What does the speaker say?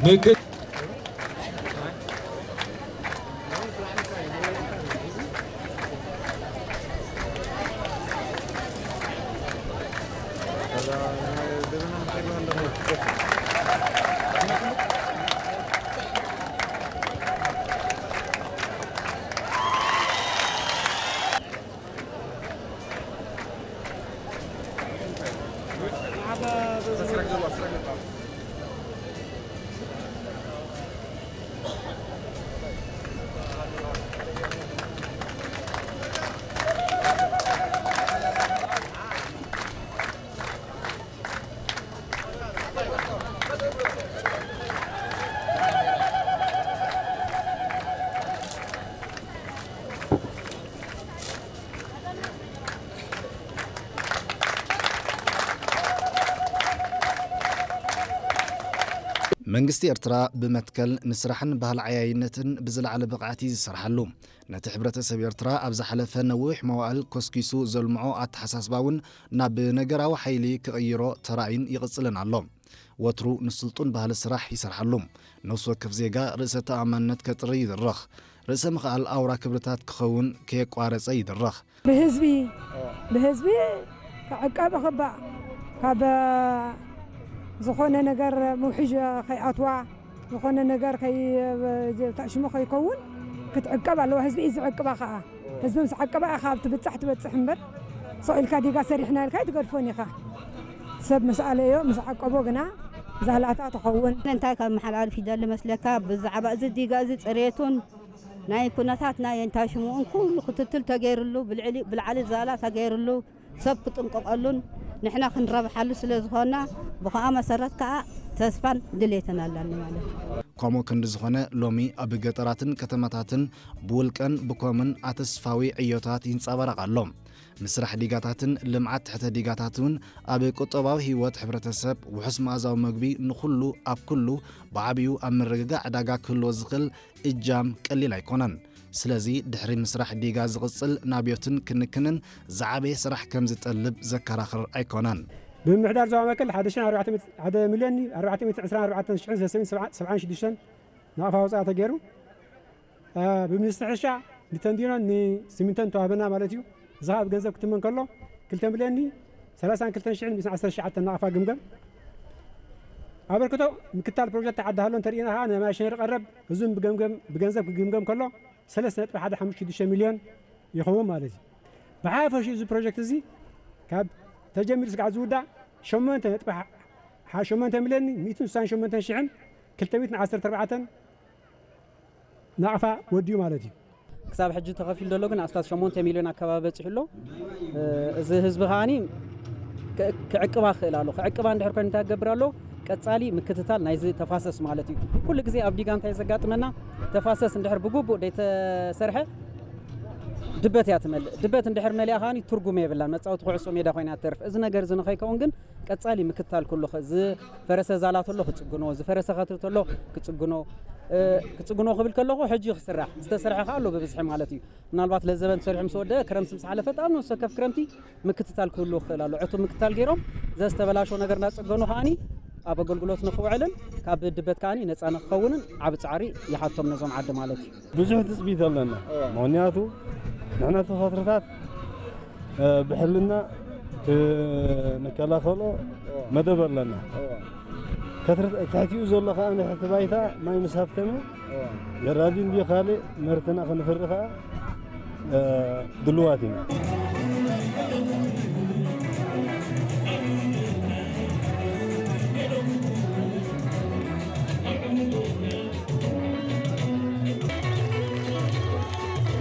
ምክት መንግስቲ ኤርትራ ብመትከል ንስራሕን ባህሊ ዓያይነትን ብዝለዓለ ብቕዓት እዩ ዝሰርሓሉ። ነቲ ሕብረተሰብ ኤርትራ ኣብ ዝሓለፈ ነዊሕ መዋእል ኮስኪሱ ዘልምዖ ኣተሓሳስባ እውን ናብ ነገራዊ ሓይሊ ክቕይሮ ተራእዩን ይቕጽልን ኣሎ። ወትሩ ንስልጡን ባህሊ ስራሕ ይሰርሓሉ። ነፍሲ ወከፍ ዜጋ ርእሰ ተኣማንነት ከጥሪ ይድረኽ። ርእሰ ምኽኣል ኣውራ ክብርታት ክኸውን ከየቋረጸ ይድረኽ። ብህዝቢ ብህዝቢ ክዕቀብ ክባእ፣ ካብ ዝኾነ ነገር ምውሕዥ ከይኣትዋ፣ ዝኾነ ነገር ከይ-፣ ሽሙ ከይከውን ክትዕቀብ ኣለዋ። ህዝቢ እዩ ዝዕቅባ ከዓ። ህዝቢ ምስ ዓቀባ ኢኻ ኣብ ትብጻሕ ትበጽሕ እምበር፣ ስቕ ኢልካ ዲጋ ሰሪሕና ኢልካ ኣይትገድፎን ኢኻ። ሰብ ምስ ኣለዮ፣ ምስ ዓቀቦ ግና ዛላታ ትኸውን። እንታይ ካብ መሓላልፍ ይደሊ መስለካ? ብዛዕባ እዚ ዲጋ እዚ ጽሬቱን ናይ ኩነታት ናይ እንታይ ሽምኡን ኩሉ ክትትል ተገይርሉ፣ ብልዕሊ-፣ ብልዓሊ ዛላ ተገይርሉ፣ ሰብ ክጥንቀቐሉን ንሕና ክንረብሓሉ ስለ ዝኾና፣ ብኸኣ መሰረት ከኣ ተስፋን ድሌትን ኣላኒ ማለት እዩ። ከምኡ ክንዲ ዝኾነ፣ ሎሚ ኣብ ገጠራትን ከተማታትን ብውልቀን ብኮምን ኣተስፋዊ ዕዮታት ይንጸባረቕ ኣሎ። ምስራሕ ዲጋታትን ልምዓት ትሕተ ዲጋታት እውን ኣብ ቁጠባዊ ህይወት ሕብረተሰብ ውሑስ መኣዛዊ መግቢ ንኹሉ ኣብ ኩሉ ብዓብዩ ኣብ ምርግጋእ ዕዳጋ ክህልዎ ዝኽእል እጃም ቀሊል ኣይኮነን። ስለዚ ድሕሪ ምስራሕ ዲጋ ዝቕጽል ናብዮትን ክንክንን ዝዓበየ ስራሕ ከም ዝጠልብ ዘከራኽር ኣይኮነን። ብምምሕዳር ዞባ መከል ሓደ ሽሕን ኣርባዕተ ሚእቲ፣ ሓደ ሚልዮን ኣርባዕተ ሚእቲ ዕስራን ኣርባዕተን ሽሕን ሰለስተ ሚእትን ሰብዓን ሽዱሽተን ናቕፋ ወጻኢ ተገይሩ። አ፣ ብሚኒስትሪ ሕርሻ ንተንዲኖን ንሲሚንቶን ተዋህበና ማለት እዩ። እዚ ኸኣ ብገንዘብ ክትመን ከሎ ክልተ ሚልዮን ሰላሳን ክልተን ሽሕን ሚእትን ዓሰርተ ትሽዓተን ናቕፋ ግምገም። ኣበርክቶ ምክታል ፕሮጀክት ዓዲ ሃሎ እንተርኢና ኸኣ ንማይ ሸነር ቀረብ እዙን ብገምገም፣ ብገንዘብ ክግምገም ከሎ ሰለስተ ነጥቢ ሓደ ሓሙሽተ ሽዱሽተ ሚልዮን ይኸውን ማለት እዩ። ብሓፈሽኡ እዚ ፕሮጀክት እዚ ካብ ተጀሚሩ ስጋዕ ዝውዳእ ሸሞንተ ነጥቢ ሓ-፣ ሓ-፣ ሸሞንተ ሚልዮን ሚእትን ስሳን ሸሞንተን ሽሕን ክልተ ሚእትን ዓሰርተ ኣርባዕተን ናቕፋ ወዲኡ ማለት እዩ። ክሳብ ሕጂ ተኸፊሉ ዘሎ ግን ኣስታት ሸሞንተ ሚልዮን ኣከባቢ በጺሑ ኣሎ። እ፣ እዚ ህዝቢ ከኣኒ ክ-፣ ክዕቅባ ክኽእል ኣሎ። ክዕቅባ እንድሕር ኮይኑ እንታይ ክገብር ኣሎ? ቀጻሊ ምክትታል ናይዚ ተፋሰስ ማለት እዩ። ኩሉ ግዜ ኣብ ዲጋ እንታይ ዘጋጥመና? ተፋሰስ እንድሕር ብግቡእ ደይተሰርሐ ድበት እያ ትመልእ። ድበት እንድሕር መሊኣ ከኣኒ ትርጉም የብላን። መጻወቲ ኩዕሶ ሜዳ ኮይና ትተርፍ። እዚ ነገር እዚ ንኸይከውን ግን ቀጻሊ ምክትታል ክህሉ፣ ዝፈረሰ ዛላ ተሎ ክጽግኖ፣ ዝፈረሰ ከትሪ ተሎ ክጽግኖ፣ እ፣ ክጽግኖ ክብል ከለኹ ሕጂ ክስራሕ፣ ዝተሰርሐ ከኣ ኣሎ ብብዝሒ ማለት እዩ። ምናልባት ለዘበን ተሰሪሑ ምስ ወደአ ክረምቲ ምስ ሓለፈ፣ ኣብ ነፍሲ ወከፍ ክረምቲ ምክትታል ክህሉ ክኽእል ኣሎ። ዕቱብ ምክትታል ገይሮም ዘዝተበላሸው ነገር እናጸገኑ ከኣኒ ኣብ ኣገልግሎት ንኽውዕልን ካብ ድበት ከኣኒ ነጻ ንኽኸውንን ዓቢ ጻዕሪ ይሓቶም ነዞም ዓዲ ማለት እዩ። ብዙሕ ትጽቢት ኣለና። እወ። ምኽንያቱ ንሕና እቲ ከትርታት፣ እ፣ ብሕልና ክንከላኸሎ እወ። መደብ ኣለና። እወ። ከትርት-፣ ትሕቲኡ ዘሎ ከኣ ንሕቲ ባይታ ማይ ምስ ሃብተመ እወ። ነዳዲ እንድዩ ካልእ ምህርትና ክንፍሪ ከኣ፣ እ፣ ድልዋት ኢና።